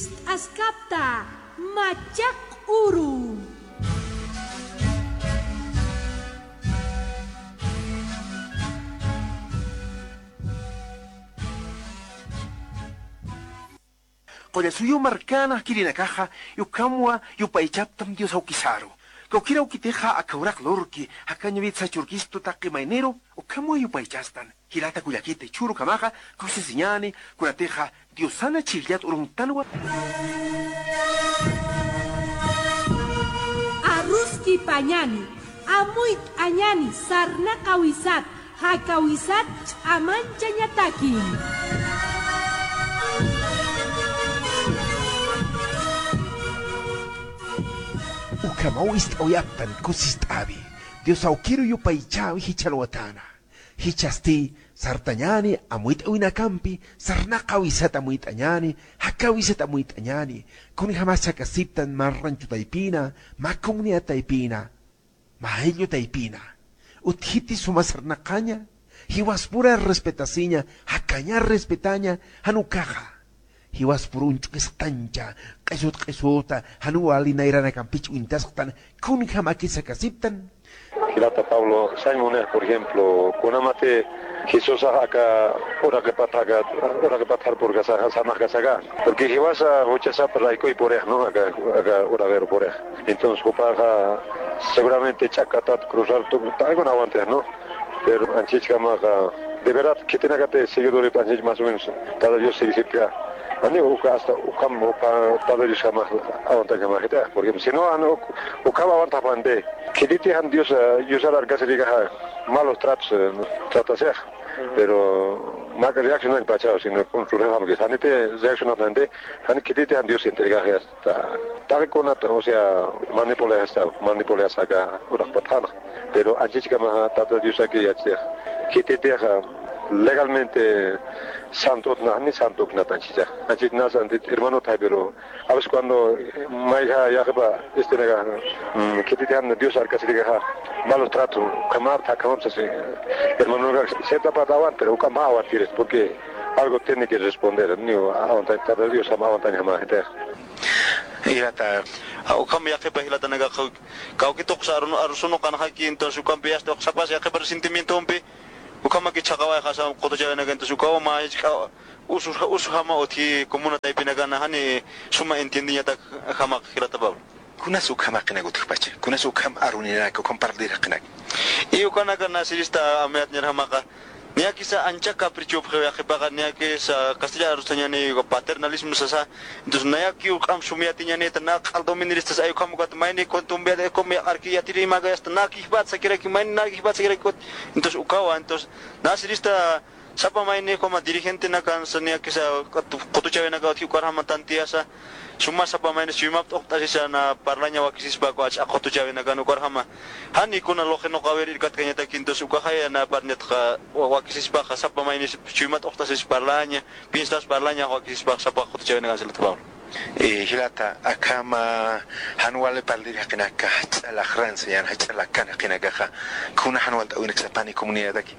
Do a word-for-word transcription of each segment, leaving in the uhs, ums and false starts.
T'askapta machaq uru. Qullasuyu markana kirinakaxa, ukhamwa yupaychaptam Dios awkisaru. Kawkira ukitixa aka uraq lurki, jakañawit sachurkistu taqi mayniru, ukhamwa yupaychastan. Jilata kullakiti, churukamaxa kusisiñani, kunatixa Diosana chhijllat uruntanwa. Aruskipañani, amuyt'añani, sarnaqawisat, jakawisat ch'amanchañataki. Ukhamaw ist'awayaptan kusist'awi, Dios awkiru yupaychäwi jichhalwatana. Jichhasti sartañani amuyt'awinakampi, sarnaqawisat amuyt'añani, jakawisat amuyt'añani, kunjamas jakasiptan mä rancho taypina, mä comunidad taypina, mä ayllu taypina. Utjiti suma sarnaqaña, jiwaspura respetasiña, jakaña respetaña, jan ukaxa. Jiwaspur uñch'ukisqtancha, q'isut q'isuta, jan wali nayranakampich uñtasqtan, kunjamakis jakasiptan. Jilata Pablo, sañ munix, por ejemplo, kunamati Jesusax aka uraqipat, aka uraqipat jarpurkasaxa, samaxkasaxa. Porque jiwasa juchasapa raykuy purix, ¿no? Aka, aka uraqiru purix. Entonces, jupaxa seguramente ch'akatat cruzar tu, alguna aguantix, ¿no? Pero anchhichkamaxa, de verdad, khitinakati seguidorip anchhich más o menos, Tata Dios sigisipka. Ani uka hasta ukham, uka Tata Dios jamax aguantañamaxita, porque si no, ani uk-, ukham aguantaxpandi. Khititi jan Dios, eh, Diosar arkasirikaxa malos tratos, eh, tratasix. Pero mä reaccionañ pachaw, sino con su rejam que janiti reaccionaxnandi, jan khititi jan Dios entregaxi hasta. Taqi kunat, o sea, manipulay hasta, manipulay hasta aka uraqpat jana. Pero anchhichkamaxa Tata Diosaki yachix. Khititixa legalmente santot na, ni santot na anchhicha. Anchhich na santit hermano thaybiru. A veces cuando, eh, mayja yaqhipa, este, nega, mm, khititi jan Dios arkasirikaxa, malos tratos, kamar, ta, kamar, sasi, hermano, nega, cierta parte aguanta, pero uka mä aguantiris, porque algo tiene que responder, ni aguanta, Tata Dios, ama aguantaña, ama, gente. Jilata, a, ukham yaqhipa jilatanakax, kawki tuqsa arun-, arusunuqanxaki, entonces, ukhampi yasta, uksapasa yaqhipa resentimientompi, ukhamaki chhaqawayxasa, qutuchawinaka, entonces, ukawa mä, usu, usu jama utji comuna taypinakana, jani suma entiendeñatak jamaq jilata Pablo. Kunas ukham jaqinak utjpacha, kunas ukham aruninak, ukham parlir jaqinak. Y ukanaka na sirista amayat ñar jamaqa, niyakisa ancha caprichopxiw yaqhipaqa, niyakisa castellano arustañani paternalismo sasa. Entonces, nayakiw q'am sum yatiñanita, na q'al doministas ay ukham ukat mayni kuntumbiat, ukham yaq'arki yatiri imaka, hasta na kijpat sakiraki, mayni na kijpat sakiraki ukat. Entonces, ukawa, entonces, na sirista sapa mayni ukhama dirigentenakan, sa niyakisa qutuchawinaka utji ukarjama tantiyasa, suma sapa mayni chuymap t'uqt'asisa na parlaña wakisispa, uka ch'a qutuchawinakan ukarjama. Jani kuna luqinuqawir irkatkañataki, entonces ukaxaya na parlñatxa wa-, wakisispaxa, sapa mayni chuymap t'uqt'asis parlaña, piensas parlaña wakisispaxa, sapa qutuchawinakan jilata Pablo. Eh, jilata, akhama jan wali parlir jaqinaka, jach'a laqran sañan, jach'a lakan jaqinakaxa, kuna jan walt'äwinak sapani comunidadaki.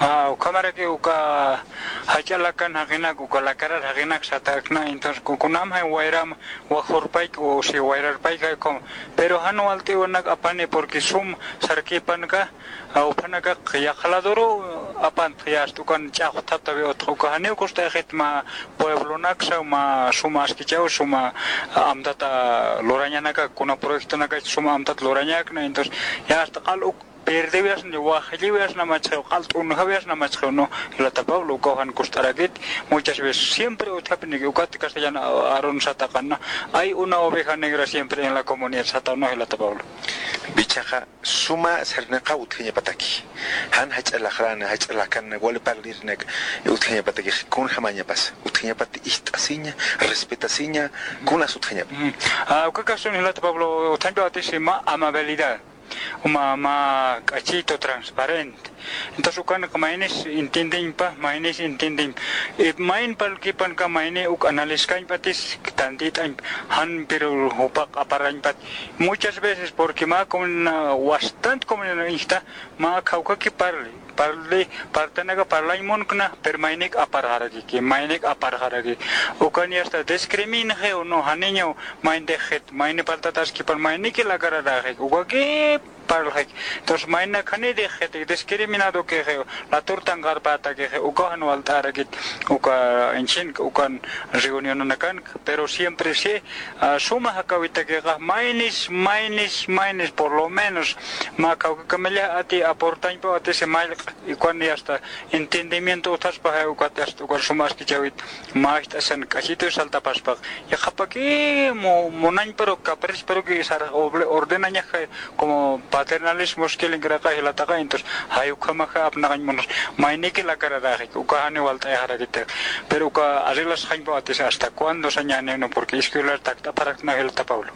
Ah, ukhamaraki uka jach'a lakan jaqinak, uka lakarar jaqinak satäkna, entonces, ku-, kunjam jan wayram wajurpayki, o si wayrarpayki, como, pero jan walt'äwinak apani, porque sum sarkipanka, ah, upanaka yaqha ladoru apant, ya hasta ukan ch'axwtaptawi utx, uka janiw kust'ayxit mä pueblonaksa, mä suma askichaw, suma amtata lurañanaka, kuna proyectonaka suma amtat lurañakna, entonces, ya hasta q'al uk- Perdiwiasna, wajlliwiasna machxiw, q'al t'unjawiasna machxiw, ¿no? Jilata Pablo, ukaw jan kust'arakit, muchas veces siempre utjapiniki, ukat castellano arun sataqanna, hay una oveja negra siempre en la comunidad sataqna, jilata Pablo. Bichaxa, suma sarnaqaw utjañapataki. Jan jach'a laqran, jach'a lakan, wali parlirnak utjañapataki, kunjamañapas utjañapat ist'asiña, respetasiña, kunas utjañapa. Mm. Ah, uka caso, jilata Pablo, utjañapatisi mä amabilidad. Uma, mä k'achitu transparente. Entonces, ukanaka maynis entiendeñpa, maynis entiendeñpa. Y mayn parlkipanka mayni uk analiskañpatis, tantit'añpa, jan pero jupa q'aparañpat. Muchas veces, porque mä comunidad, bastante comunidad insta, mä kawkaki parli. Parli, partanaka parlañ munkna, pero maynik aparxarakiki, maynik aparxaraki. Ukan yasta discriminaxiw, no, janiñaw, maynix jit, mayni parltataskipan, mayniki lakararaxik, ukaki parlxik. Entonces, maynak janirix jit, discriminado kixiw, latur tanqarpätakixi, ukaw jan walt'arakit, uka, inchin, ukan reunionanakan, pero siempre sí, ah, suma jakawitakixa, maynis, maynis, maynis, por lo menos, mä kawkikamallax ati aportañpaw ati si mallq, y cuando ya está, entendimiento utjaspaxa, ukat hasta, ukat suma askichäwit, mä ist'asan k'achitu saltapaspax. Yaqhapaki mu-, munañparu, caprichparuki sar-, oble-, ordenañaxa, como paternalismo skilin kiraqa jilataqa, entonces, jay ukhamaxa apnaqañ munas, mayniki lakararaxik, uka jani walt'ayaxarakitix. Pero uka arreglasxañpaw ati si hasta cuándo sañäni, no, porque escuela takt'apxarakna jilata Pablo.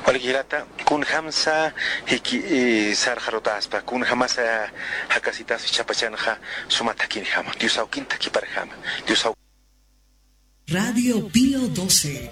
Walik jilata, kunjamsa jiki, eh, sarxarutaspa, kunjamasa jakasitas jichhapachanxa suma thakhinjama, Dios awkin thakhiparjama, Dios aw- Radio Pío doce.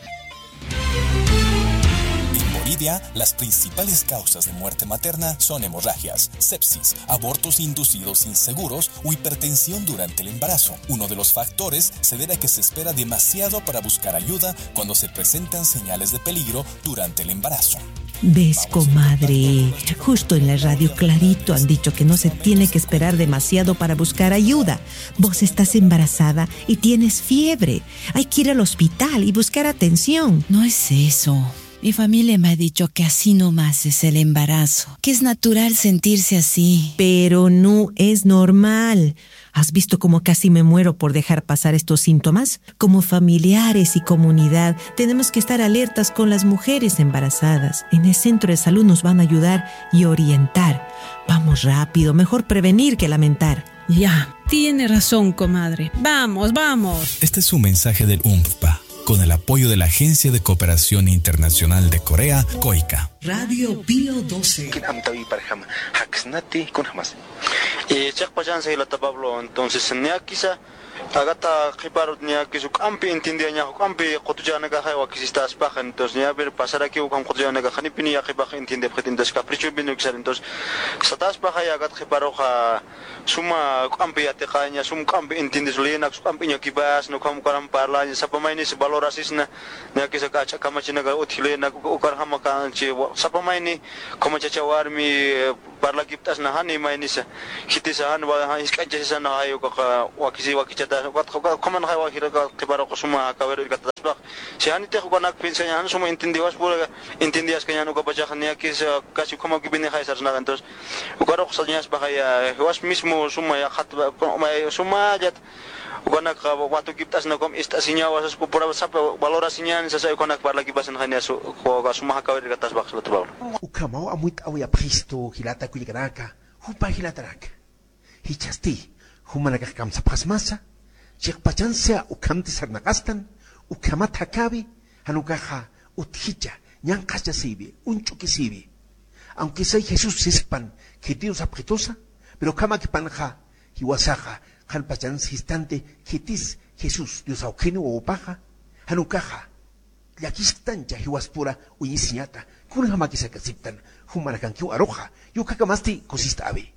En Bolivia, las principales causas de muerte materna son hemorragias, sepsis, abortos inducidos inseguros o hipertensión durante el embarazo. Uno de los factores se debe a que se espera demasiado para buscar ayuda cuando se presentan señales de peligro durante el embarazo. ¿Ves, comadre? Justo en la radio clarito han dicho que no se tiene que esperar demasiado para buscar ayuda. Vos estás embarazada y tienes fiebre. Hay que ir al hospital y buscar atención. No es eso. Mi familia me ha dicho que así nomás es el embarazo, que es natural sentirse así. Pero no es normal. ¿Has visto cómo casi me muero por dejar pasar estos síntomas? Como familiares y comunidad, tenemos que estar alertas con las mujeres embarazadas. En el centro de salud nos van a ayudar y orientar. Vamos rápido, mejor prevenir que lamentar. Ya, tiene razón, comadre. Vamos, vamos. Este es un mensaje del UNFPA, con el apoyo de la Agencia de Cooperación Internacional de Corea, COICA. Radio Pío doce. Kin amtawi parjama, jaksnati, kunjamas. Eh, chiqpachansa jilata Pablo, entonces, niya kisa, akata qhiparut niya kisa juk'ampi entiendiyañax, juk'ampi qutuchanakaxa wakisistaspaxa, entonces, niya ver pasaraki ukham qutuchanakaxa, janipini ya qhipax entiendepxit, entonces, caprichopini ukisar, entonces, sataspaxa ya akata qhiparuxa, suma juk'ampi yatiqaña, sum juk'ampi entiendes, leyenak juk'ampi iñakipasna, ukham ukaram parlaña, sapa maynis valorasisna, niya kisa kach'a kamachinaka utji leyenak, ukarjama kanchi, sapa mayni, kamachacha warmi, eh, parlakipt'asna, jani maynisa, jitisa, jan wa-, jan jisk'anchasisana, jay ukaxa, wakisi, wakichata, ukat, ukat, ukhaman jay wakiraka, qhiparuxa suma, kawiru irkataspax, si janitix ukanak piensaña, jan suma entiendiwaspura, entiendiyaskañan ukapachaxa, niya kisa, casi ukhamakipini jay sarsnaxa, entonces, ukarux sañaspaxa ya, jiwas mismo suma ya, jat, suma yat, ukanak watukipt'asna ukham ist'asiñawa, sas kupura sapa valorasiñan, sasa ukanak parlakipasan janiya su, uka suma jakawir irkataspax jilata Pablo. Ukhamaw amuyt'awayapxistu jilata kullakanaka, jupa jilataraka. Jichhasti, jumanakax kamsapxasmasa, chiqpachansa ukhamti sarnaqastan, ukhamat jakawi, jan ukaxa utjicha, ñanqhaschasiwi, uñch'ukisiwi. Aunque sea Jesús siskpan, khitiw sapxitusa, pero ukhamakipanxa, jiwasaxa, qhanpachan sistanti, khitis Jesús, Dios awkini wawapaxa, jan ukaxa, llakisktancha jiwaspura uñisiñata, kunjamakis jakasiptan, jumanakankiw aruxa, ukhakamasti kusist'awi.